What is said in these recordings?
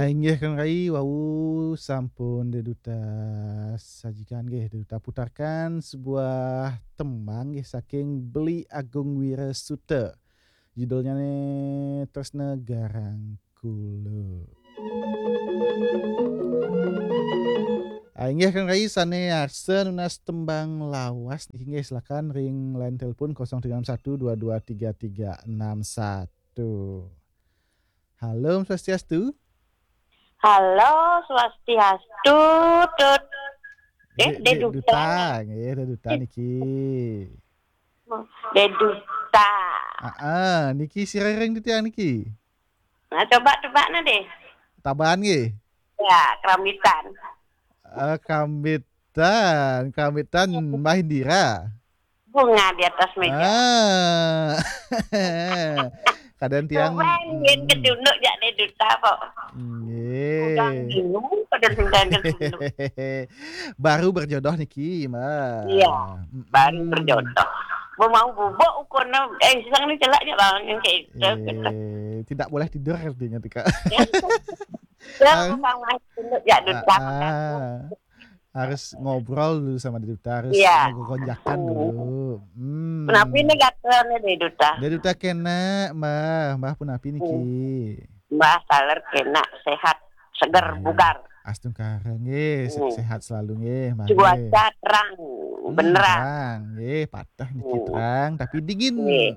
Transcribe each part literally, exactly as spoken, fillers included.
Inggih, Kang Rai, wau sampun Dek Duta sajikan nggih, Dek Duta putarkan sebuah tembang nggih saking Beli Agung Wirasuta. Judulnya nih Tresna Garang Kula. Ah, inggih, Kang Rai, sane arsa nunas tembang lawas niki nggih, silakan ring line telepon kosong tiga enam satu dua dua tiga tiga enam satu. Halo, Om Swastiastu. Halo, Swastiastu, Tut. Eh, Dek, Dek Duta. Duta, nggih, Dek Duta niki. Dek Duta. Heeh, niki sira ring titiang niki. Nah, coba tebak nah deh. Tabahan nggih? Ya, Kerambitan. Eh, Kerambitan, Kerambitan Mbah Indira. Bunga di atas meja. Ah. Kadang tiang, Tuan, yen mm-mm. Ketunduk jak Dek Duta kok. Nggih. Udah bingung pada sing ketunduk. Baru berjodoh niki, Mbak. Iya, mm-mm. Baru berjodoh. Mau, mau bubuk ukurnya, eh, sang ni celak je bang, yang kayak itu. Eh, tidak boleh tidur artinya, Tika. Ya, ah. Bang, Mas, tunduk jak Duta. Ah, ah. Harus ngobrol dulu sama Dek Duta, harus, iya, ngegonjakan dulu. Hmm. Punapi nih gatrane Dek Duta? Dek Duta kena, Mbah. Mbah punapi niki? Hmm. Mbah taler kena, sehat, seger, iya, bugar. Astungkara nggih, se-, hmm, sehat selalu nggih, Mbah. Cuaca nggih. Terang, hmm, benerang. Terang nggih, patah niki, hmm, terang tapi dingin. Nggih.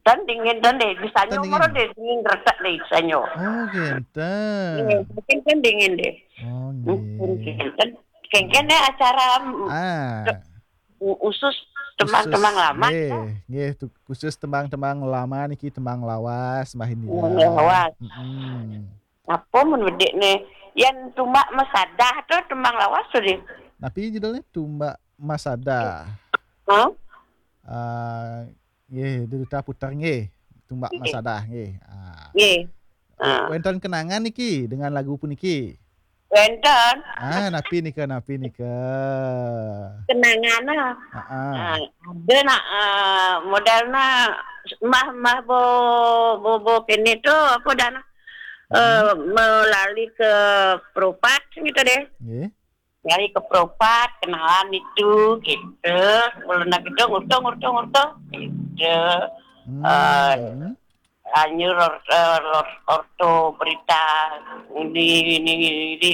Tan dingin tan deh, bisa nyomor deh, dingin resek deh, bisa nyo. Oh, genten. Iya, mungkin kan dingin deh. Oh, nggih. Mungkin kan, kan, kan ya acara, mm, ah, u-, usus tembang-tembang lama. Khusus, nggih, nggih, tu-, khusus tembang-tembang lama niki, tembang lawas, Mbah Indira. Tembang lawas. Mm-mm. Apa mun bedek nih? Yang tumbak masadah tu tembang lawas tu deh. Tapi judulnya Tumbak Masadah. Hah? Ah, nggih, Dek Duta putar nggih. Tumbak, nggih, Masadah nggih. Ah. Nggih. Ah. Wenten kenangan niki dengan lagu puniki? Wenten. Ah, napi nika, napi nika? Kenangan lah. Ah, ah. Ah, ada nak, ah, modalna mah, mah bo, bo, bo kene tu apa dah nak? Eh, hmm, melali ke Propat gitu deh. Nggih. Nyari ke Propat, kenalan itu, gitu. Kalau nak gitu, ngurto, ngurto, ngurto, gitu. Hmm. Eh, anjur or-, eh, lor-, orto berita, ini, ini, ini, ini.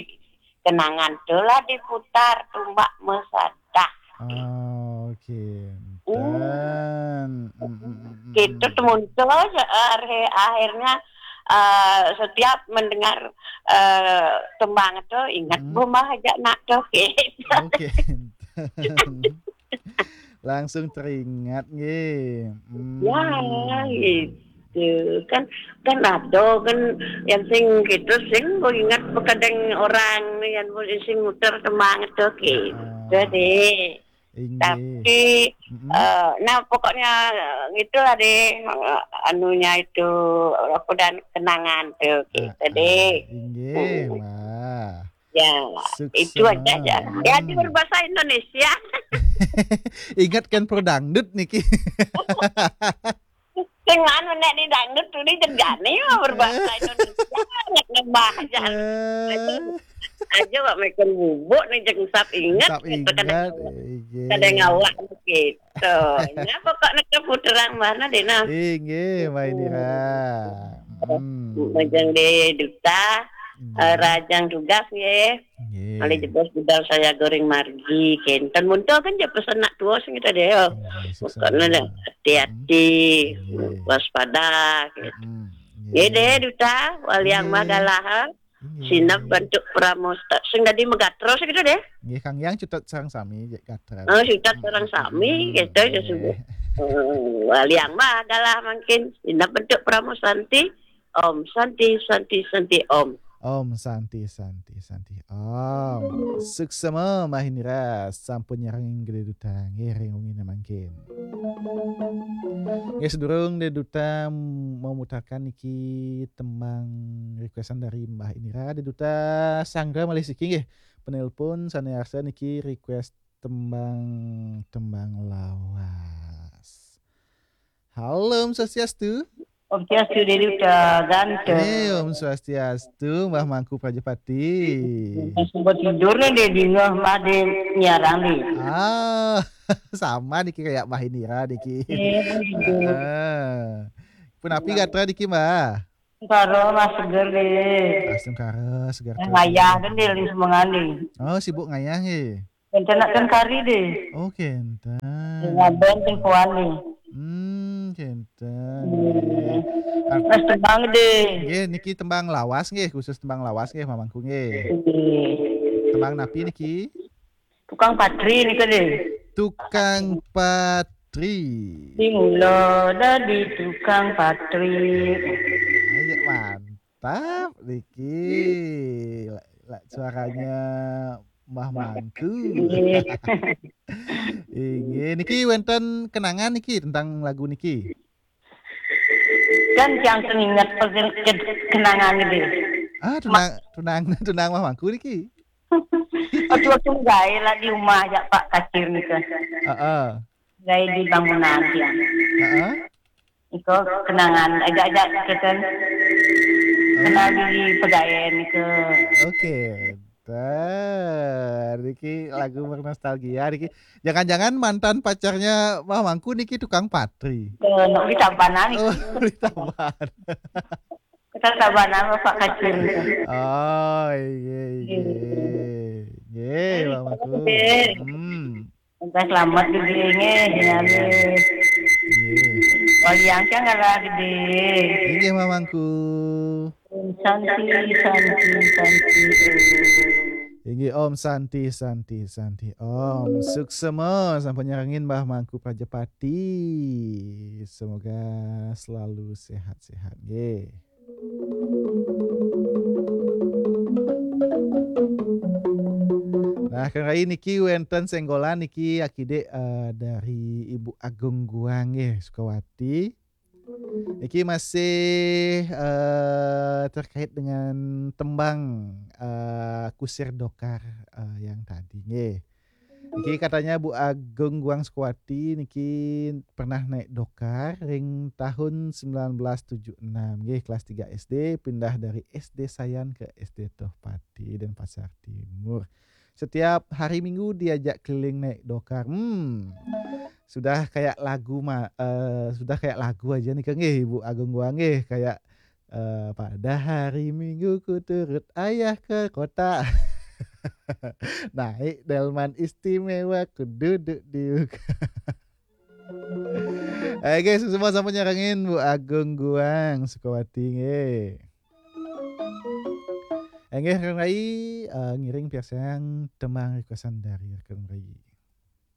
Kenangan tu lah diputar, tumbak masadah. Ah, oke. Hmm. Dan, mm, mm, mm, mm, gitu, mm, muncul aja, eh, akhirnya, eh, setiap mendengar, eh, tembang tu, ingat, hmm, bumah aja nak tu, gitu. Oke. Langsung teringat nggih. Hmm. Ya, gitu. Kan, kan ada kan yang sing gitu, sing bo ingat bekadang orang ni, yang bo sing muter tembang tu, gitu. Ah. Deh. Inggih. Tapi, mm-mm, eh, nah, pokoknya, eh, gitulah deh, eh, anunya itu, apa dan kenangan tu, ah, gitu deh. Ah, inggih, hmm, Mbah. Ya, suksema, itu aja, ya. Ya, di, hmm, berbahasa Indonesia. Ingat kan pro dangdut niki. Sing anu nek di dangdut tu ni jegane mah berbahasa Indonesia. Nek nembah aja. Eh. Aja wak makan bubuk ni jeng sap ingat. Sap gitu kan. Ingat, eh, iya. Kadang awak gitu. Nah, pokok nek keputeran mana deh, nah. Inggih, Mbak Indira. Hmm. Majang deh Duta, hmm, eh, rajang tugas nggih. Nggih. Malih jebos budal saya goreng margi, kenten. Mun to kan je pesen nak tuos gitu deh, yo. Nggih, pokoknya suksema. Hati-hati, hmm, nggih, waspada, gitu. Hmm, nggih. Nggih deh, Duta, waliang, nggih, mah galah, ha. Nggih. Sinep bantuk pramusta. Sing dadi megatros gitu deh. Nggih, Kang Yang cutet sareng sami, jek gatra. Oh, cutet sareng sami, hmm, gitu, nggih, ya sudah. Hmm, waliang mah galah mangkin. Sinep bantuk pramustanti. Om Santi, Santi, Santi, Om. Om Santi, Santi, Santi, Om. Suksema Mbah Indira, sampun nyarengin Gede Duta, nggih, ring wengi mangkin. Nggih, sedurung Gede Duta memutarkan niki tembang requestan dari Mbah Indira, Gede Duta sanggra malih siki nggih. Penelpon sane arsa niki request tembang, tembang lawas. Halo, Om Swastiastu. Om Swastiastu, Dede Uta Ganta. Eh, Om Swastiastu, Mbah Mangku Prajapati. Suba tidur nih, Dede, dingeh Mbah Dede nyiarang, Dede. Ah, sama niki kayak Mbah Indira niki. Eh, gitu. Ah. Punapi gatra niki, Mbah? Karo Mas seger, Dede. Astungkara, seger. Ngayah, Dede, ling semengan, Dede. Oh, sibuk ngayah, nggih. Enten nak ten kari, Dede. Oh, kenten. Ngaben tempoan, Dede. Hmm, kenten. Hmm. Ar- Mas tembang, Dede. Nggih, niki tembang lawas nggih, khusus tembang lawas nggih, Mbah Mangku nggih. Nggih. Tembang napi niki? Tukang patri nika, Dede. Tukang patri. Di mula dadi tukang patri. Ayo, mantap niki. Lak, lak suaranya Mbah Mangku. Nggih. Inggih, niki wenten kenangan niki tentang lagu niki. Kan tiang teringat persen-, ke-, kenangan, Dede. Ah, tunang, tunang, tunang Mbah Mangku niki. Waktu-waktu gaé lah di rumah ajak Pak Kacir nika. Heeh. Gaé di bangunan tiang. Heeh. Iko kenangan, ajak-ajak kita kan. Oh. Kenal di pegawai nika. Oke. Bentar, niki lagu bernostalgia niki. Jangan-jangan mantan pacarnya Mbah Mangku niki tukang patri. Eh, nak beli tabanan niki. Oh, beli taban. Kita tabanan Pak Kacir nika. Oh, iya, iya. Iya. Iya, Mbah Mangku. Iya. Hmm. Entah selamat gede nggih, dinane. Nggih. Waliang kang ngalah gede. Inggih, Mbah Mangku. Santi, santi, santi. Inggih, Om Santi, Santi, Santi. Om suksema sampun nyarengin Mbah Mangku Prajapati. Semoga selalu sehat-sehat nggih. Nah, Kang Rai niki wenten senggolan niki akidik, eh, dari Ibu Agung Guang nggih, Sukawati. Niki masih, eh, terkait dengan tembang, eh, Kusir Dokar, eh, yang tadi nggih. Niki katanya Bu Agung Guang Sukawati niki pernah naik dokar ring tahun sembilan belas tujuh enam nggih, kelas tiga S D, pindah dari S D Sayan ke S D Tohpati Denpasar Timur. Setiap hari Minggu diajak keliling naik dokar. Hmm. Sudah kayak lagu ma-, eh, sudah kayak lagu aja nih, Kang, nggih, Ibu Agung Guang nggih, kayak, eh, "Pada hari Minggu ku turut ayah ke kota." Naik delman istimewa ku duduk di muka. Oke, semua sampun nyarengin Bu Agung Guang Sukawati nggih. Enggih, Kang Rai, eh, ngiring piarsayang tembang requestan dari Kang Rai.